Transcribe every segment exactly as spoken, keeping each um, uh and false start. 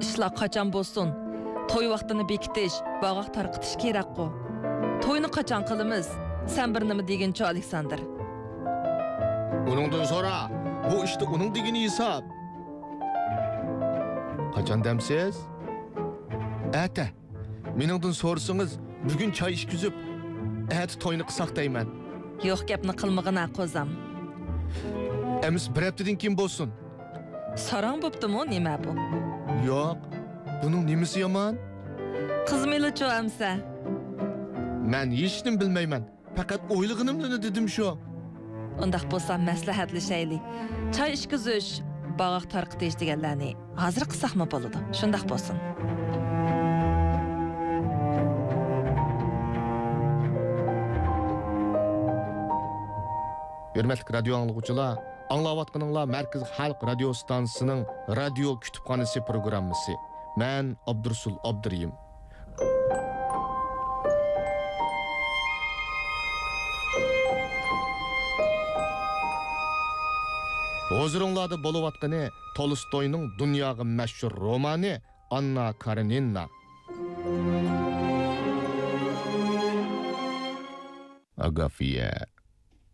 ئىشلار قاچان بولسۇن، توي ۋاقتىنى بېكىتىش، باغاق تارقىتىش كېرەكقۇ. توينى قاچان قىلىمىز؟ سەن بىر نېمە دېگىنچۇ، ئالېكساندىر؟ ئۇنىڭدىن سورا، بۇ ئىشتا ئۇنىڭ دېگىنى ھېساب. قاچان دەمسىز؟ ئەتە. مېنىڭدىن سورىسىڭىز، بۈگۈن چاي ئىچكۈزۈپ، ئەتە توينى قىلساق دەيمەن. يوق گەپنى قىلمىغىنا، قوزام. ئەمىسە بىر ھەپتىدىن كېيىن بولسۇن. ساراڭ بوپتىمۇ نېمە بۇ؟ ياق، بۇنىڭ نېمىسى يامان؟ قىزمىلىچۇ ئەمسە؟ مەن ھېچنېمە بىلمەيمەن. پەقەت ئويلىغىنىمنى دېدىم شۇ. ئۇنداق بولسا مەسلىھەتلىشەيلى. چاي ئىچكۈزۈش، باغاق تارقىتىش دېگەنلەرنى ھازىر قىلساقمۇ بولىدۇ. شۇنداق بولسۇن. ھۆرمەتلىك رادىيو ئاڭلىغۇچىلار، ئاڭلاۋاتقىنىڭلار مەركىزىي خەلق رادىيو ئىستانسىسىنىڭ رادىيو كۇتۇپخانىسى پروگراممىسى. مەن ئابدۇرۇسۇل ئابدۇرېھىم. ھۇزۇرۇڭلاردا بولۇۋاتقىنى تولستوينىڭ دۇنياغا مەشھۇر رومانى ئاننا كارېنىنا. ئاگافيە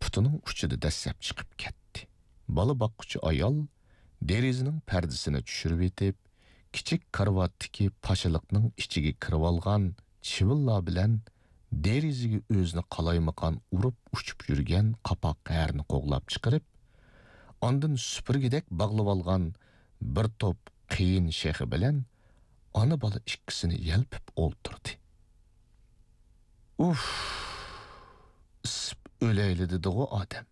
پۇتىنىڭ ئۇچىدا دەسسەپ چىقىپ كەتتى. بالا باققۇچى ئايال دېرىزىنىڭ پەردىسىنى چۈشۈرۈۋېتىپ، كىچىك كارىۋاتتىكى پاشىلىقنىڭ ئىچىگە كىرىۋالغان چىۋىنلار بىلەن دېرىزىگە ئۆزىنى قالايمىقان ئۇرۇپ ئۇچۇپ يۈرگەن قاپاق ھەرىنى قوغلاپ چىقىرىپ، ئاندىن سۈپۈرگىدەك باغلىۋالغان بىر توپ قېيىن شېخى بىلەن ئانا-بالا ئىككىسىنى يەلپۈپ ئولتۇردى. ئۇف، ئىسسىپ ئۆلەيلى دېدىغۇ ئادەم.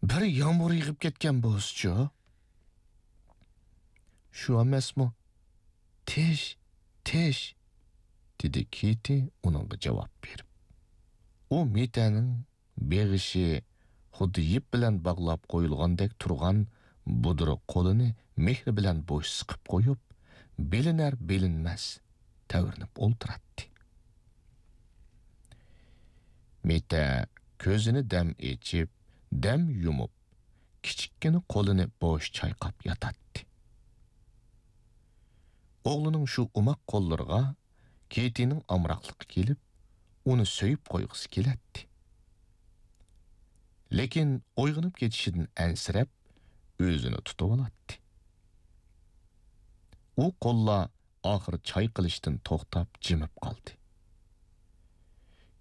بىر يامغۇر يېغىپ كەتكەن بولسىچۇ؟ شۇ ئەمەسمۇ؟ تىش، تىش، دېدى كېتى ئۇنىڭغا جاۋاب بېرىپ. ئۇ مىتەنىڭ بېغىشى خۇددى يىپ بىلەن باغلاپ قويۇلغاندەك تۇرغان بۇدرا قولىنى مېھرى بىلەن بوش سىقىپ قويۇپ، بىلىنەر-بىلىنمەس تەۋرىنىپ ئولتۇراتتى. مىتە كۆزىنى دەم ئېچىپ، دەم يۇمۇپ، كىچىككىنە قولىنى بوش چايقاپ ياتاتتى. ئوغلىنىڭ شۇ ئوماق قوللىرىغا كېتىنىڭ ئامراقلىقى كېلىپ، ئۇنى سۆيۈپ قويغۇسى كېلەتتى. لېكىن ئويغىنىپ كېتىشىدىن ئەنسىرەپ، ئۆزىنى تۇتۇۋالاتتى. ئۇ قوللار ئاخىر چايقىلىشتىن توختاپ جىمىپ قالدى.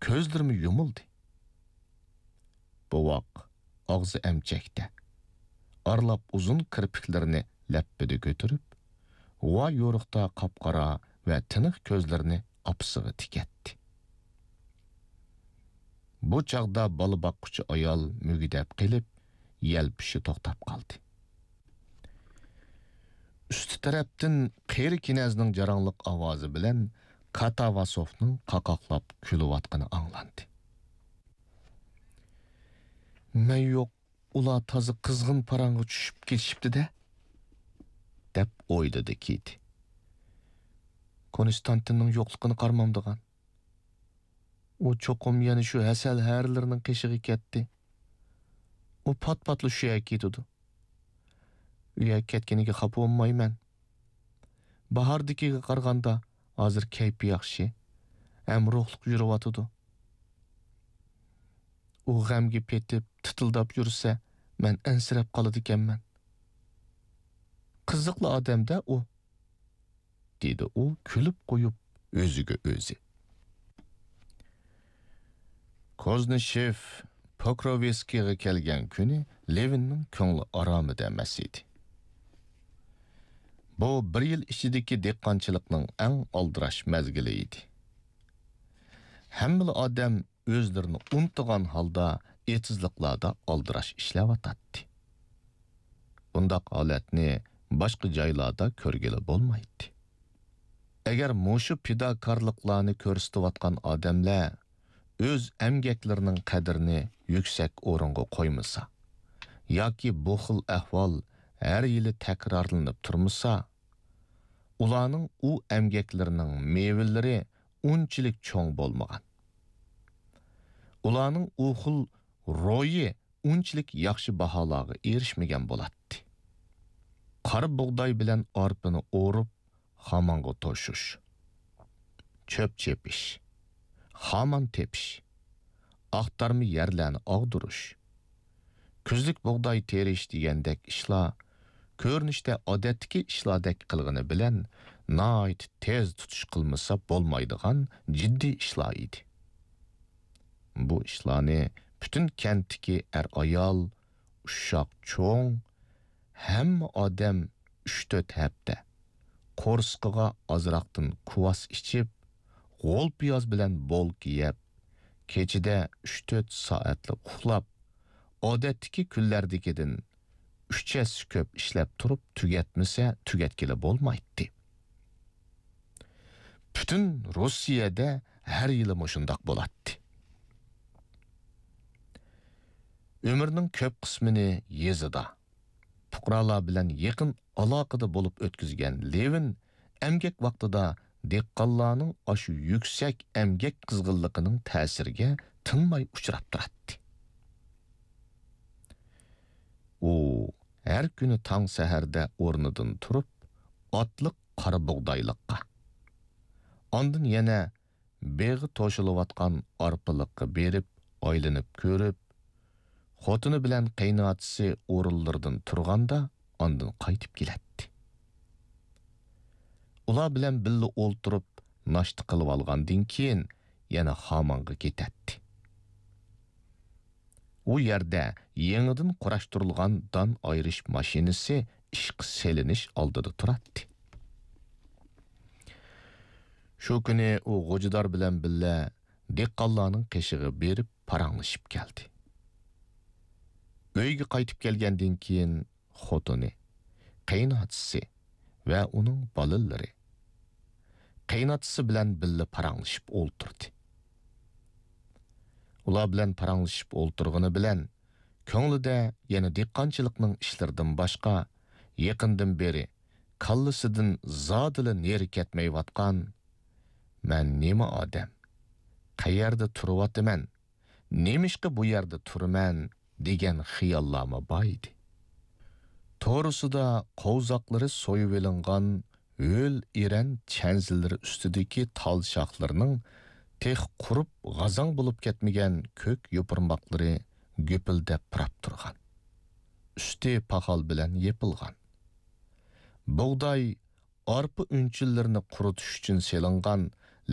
كۆزلىرىمۇ يۇمۇلدى. بوۋاق ئاغزى ئەمچەكتە، ئارىلاپ ئۇزۇن كىرپىكلىرىنى لەپپىدە كۆتۈرۈپ، غۇۋا يورۇقتا قاپقارا ۋە تىنىق كۆزلىرىنى ئاپىسىغا تىكەتتى. بۇ چاغدا بالا باققۇچى ئايال مۈگدەپ قېلىپ، يەلپۈشى توختاپ قالدى. ئۈستى تەرەپتىن قېرى كېنەزنىڭ جاراڭلىق ئاۋازى بىلەن كاتاۋاسوفنىڭ قاقاقلاپ كۈلۈۋاتقىنى ئاڭلاندى. مەن يوق، ئۇلار تازا قىزغىن پاراڭغا چۈشۈپ كېتىشىپتۇ-دە، دەپ ئويلىدى كېتى. كونستانتىننىڭ يوقلۇقىنى قارىمامدىغان. ئۇ چوقۇم يەنە شۇ ھەسەل ھەرىلىرىنىڭ قېشىغا كەتتى. ئۇ پات-پاتلا شۇ يەرگە كېتىدۇ. ئۇ يەرگە كەتكىنىگە خاپا بولمايمەن. باھاردىكىگە قارىغاندا ھازىر كەيپى ياخشى، ھەم روھلۇق يۈرۈۋاتىدۇ. ئۇ غەمگە پېتىپ، تىتىلداپ يۈرسە، مەن ئەنسىرەپ قالىدىكەنمەن. قىزىقلا ئادەم-دە ئۇ. دېدى ئۇ كۈلۈپ قويۇپ ئۆزىگە ئۆزى. كوزنىشېف پوكروۋسكىيغا كەلگەن كۈنى لېۋىننىڭ كۆڭلى ئارامىدا ئەمەس ئىدى. بۇ بىر يىل ئىچىدىكى دېھقانچىلىقنىڭ ئەڭ ئالدىراش مەزگىلى ئىدى. ھەممىلا ئادەم ئۆزلىرىنى ئۇنتۇغان ھالدا ئېتىزلىقلاردا ئالدىراش ئىشلەۋاتاتتى. بۇنداق ھالەتنى باشقا جايلاردا كۆرگىلى بولمايتتى. ئەگەر مۇشۇ پىداكارلىقلارنى كۆرسىتىۋاتقان ئادەملەر ئۆز ئەمگەكلىرىنىڭ قەدرىنى يۈكسەك ئورۇنغا قويمىسا ياكى بۇ خىل ئەھۋال ھەر يىلى تەكرارلىنىپ تۇرمىسا، ئۇلارنىڭ ئۇ ئەمگەكلىرىنىڭ مېۋىلىرى ئۇنچىلىك چوڭ بولمىغان. ئۇلارنىڭ ئۇ خىل روھى ئۇنچىلىك ياخشى باھالارغا ئېرىشمىگەن بولاتتى. قارا بۇغداي بىلەن ئارپىنى ئورۇپ، خامانغا توشۇش، چۆپ چېپىش، خامان تېپىش، ئاختارما يەرلەرنى ئاغدۇرۇش، كۈزلۈك بۇغداي تېرىش دېگەندەك ئىشلار كۆرۈنۈشتە ئادەتتىكى ئىشلاردەك قىلغىنى بىلەن ناھايىتى تېز تۇتۇش قىلمىسا بولمايدىغان جىددىي ئىشلار ئىدى. بۇ ئىشلارنى پۈتۈن كەنتتىكى ئەر-ئايال، ئۇششاق-چوڭ، ھەممە ئادەم ئۈچ-تۆت ھەپتە قورسىقىغا ئازراقتىن كۇۋاس ئىچىپ، غول پىياز بىلەن بولكا يەپ، كېچىدە ئۈچ-تۆت سائەتلا ئۇخلاپ، ئادەتتىكى كۈنلەردىكىدىن ئۈچ ھەسسە كۆپ ئىشلەپ تۇرۇپ تۈگەتمىسە تۈگەتكىلى بولمايتتى. پۈتۈن روسىيەدە ھەر يىلى مۇشۇنداق بولاتتى. ئۆمرىنىڭ كۆپ قىسمىنى يېزىدا، پۇقرالار بىلەن يېقىن ئالاقىدە بولۇپ ئۆتكۈزگەن لېۋىن ئەمگەك ۋاقتىدا دېھقانلارنىڭ ئاشۇ يۈكسەك ئەمگەك قىزغىنلىقىنىڭ تەسىرىگە تىنماي ئۇچراپ تۇراتتى. ئۇ ھەر كۈنى تاڭ سەھەردە ئورنىدىن تۇرۇپ، ئاتلىق قارا بۇغدايلىققا، ئاندىن يەنە بېغى توشۇلۇۋاتقان ئارپىلىققا بېرىپ ئايلىنىپ كۆرۈپ، خوتۇنى بىلەن قېيىنئاتىسى ئورۇنلىرىدىن تۇرغاندا ئاندىن قايتىپ كېلەتتى. ئۇلار بىلەن بىللە ئولتۇرۇپ ناشتا قىلىۋالغاندىن كېيىن يەنە خامانغا كېتەتتى. ئۇ يەردە يېڭىدىن قۇراشتۇرۇلغان دان ئايرىش ماشىنىسى ئىشقا سېلىنىش ئالدىدا تۇراتتى. شۇ كۈنى ئۇ غوجىدار بىلەن بىللە دېھقانلارنىڭ قېشىغا بېرىپ پاراڭلىشىپ كەلدى. ئۆيگە قايتىپ كەلگەندىن كېيىن خوتۇنى، قېيىنئاتىسى ۋە ئۇنىڭ بالىلىرى، قېيىنئاتىسى بىلەن بىللە پاراڭلىشىپ ئولتۇردى. ئۇلار بىلەن پاراڭلىشىپ ئولتۇرغىنى بىلەن، كۆڭلىدە يەنە دېھقانچىلىقنىڭ ئىشلىرىدىن باشقا، يېقىندىن بېرى كاللىسىدىن زادىلا نېرى كەتمەيۋاتقان، «مەن نېمە ئادەم؟ قەيەردە تۇرۇۋاتىمەن؟ نېمىشقا بۇ يەردە تۇرىمەن؟» دېگەن خىياللارمۇ بار ئىدى. تورۇسىدا قوۋزاقلىرى سويۇۋېلىنغان ھۆل ئېرەن چەنزىلىرى ئۈستىدىكى تال شاخلىرىنىڭ تېخى قۇرۇپ غازاڭ بولۇپ كەتمىگەن كۆك يوپۇرماقلىرى گۈپۈلدەپ پۇراپ تۇرغان. ئۈستى پاخال بىلەن يېپىلغان. بۇغداي، ئارپا ئۈنچىلىرىنى قۇرۇتۇش ئۈچۈن سېلىنغان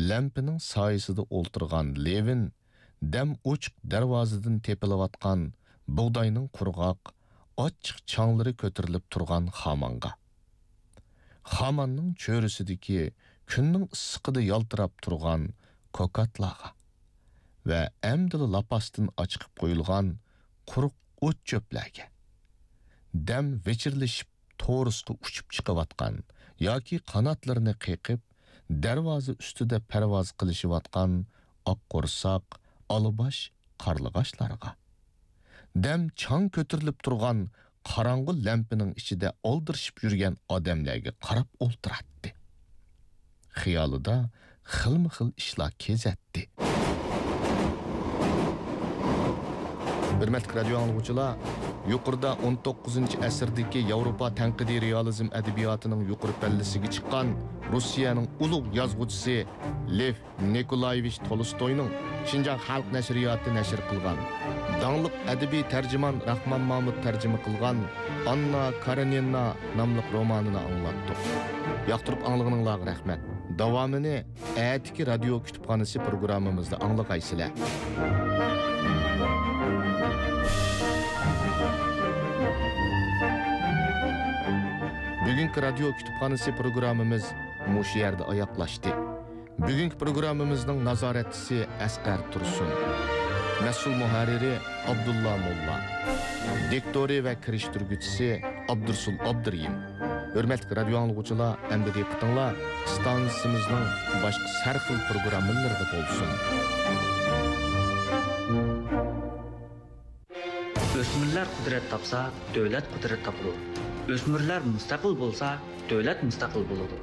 لەمپىنىڭ سايىسىدا ئولتۇرغان لېۋىن دەم ئوچۇق دەرۋازىدىن تېپىلىۋاتقان بۇغداينىڭ قۇرغاق، ئاچچىق چاڭلىرى كۆتۈرۈلۈپ تۇرغان خامانغا، خاماننىڭ چۆرىسىدىكى كۈننىڭ ئىسسىقىدا يالتىراپ تۇرغان كوكاتلارغا ۋە ئەمدىلا لاپاستىن ئاچىقىپ قويۇلغان قۇرۇق ئوت-چۆپلەرگە، دەم ۋىچىرلىشىپ تورۇسقا ئۇچۇپ چىقىۋاتقان ياكى قاناتلىرىنى قېقىپ، دەرۋازا ئۈستىدە پەرۋاز قىلىشىۋاتقان ئاق قورساق، ئالىباش قارلىغاچلارغا، دەم چاڭ كۆتۈرۈلۈپ تۇرغان قاراڭغۇ لەمپىنىڭ ئىچىدە ئالدىرىشىپ يۈرگەن ئادەملەرگە قاراپ ئولتۇراتتى. خىيالىدا خىلمۇ خىل ئىشلار كېزەتتى. ھۆرمەتلىك رادىيو ئاڭلىغۇچىلار، يۇقىرىدا ئون توققۇزىنچى ئەسىردىكى ياۋروپا تەنقىدىي رېئالىزم ئەدەبىياتىنىڭ يۇقىرى پەللىسىگە چىققان روسىيەنىڭ ئۇلۇغ يازغۇچىسى لېف نىكولايېۋىچ تولستوينىڭ شىنجاڭ خەلق نەشرىياتى نەشر قىلغان، داڭلىق ئەدەبىي تەرجىمان راخمان مامۇت تەرجىمە قىلغان ئاننا كارېنىنا ناملىق رومانىنى ئاڭلاتتۇق. ياقتۇرۇپ ئاڭلىغىنىڭلارغا رەھمەت. داۋامىنى ئەتىكى رادىيو كۇتۇپخانىسى پروگراممىمىزدا ئاڭلىغايسىلەر. بۈگۈنكى رادىيو كۇتۇپخانىسى پروگراممىمىز مۇشۇ يەردە ئاياغلاشتى. بۈگۈنكى پروگراممىمىزنىڭ نازارەتچىسى ئەسقەر تۇرسۇن. مەسئۇل مۇھەررىرى ئابدۇللا موللا. دىكتورى ۋە كىرىشتۈرگۈچىسى ئابدۇرسۇل ئابدۇرېھىم. ھۆرمەتلىك رادىيو ئاڭلىغۇچىلار، ئەمدى دىققىتىڭلار ئىستانسىمىزنىڭ باشقا سەرخىل پروگراممىلىرىدا بولسۇن. ئۆسمۈرلەر قۇدرەت تاپسا، دۆلەت قۇدرەت تاپىدۇ. ئۆسمۈرلەر مۇستەقىل بولسا، دۆلەت مۇستەقىل بولىدۇ.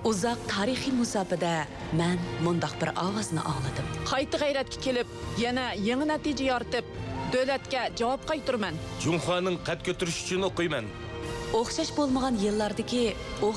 ئۇزاق تارىخىي مۇساپىدە مەن مۇنداق بىر ئاۋازنى ئاڭلىدىم. قايتا غەيرەتكە كېلىپ، يەنە يېڭى نەتىجە يارىتىپ، دۆلەتكە جاۋاب قايتۇرىمەن. جۇڭخۇانىڭ قەد كۆتۈرۈشى ئۈچۈن ئوقۇيمەن. ئوخشاش بولمىغان يىللاردىكى ئوخشاش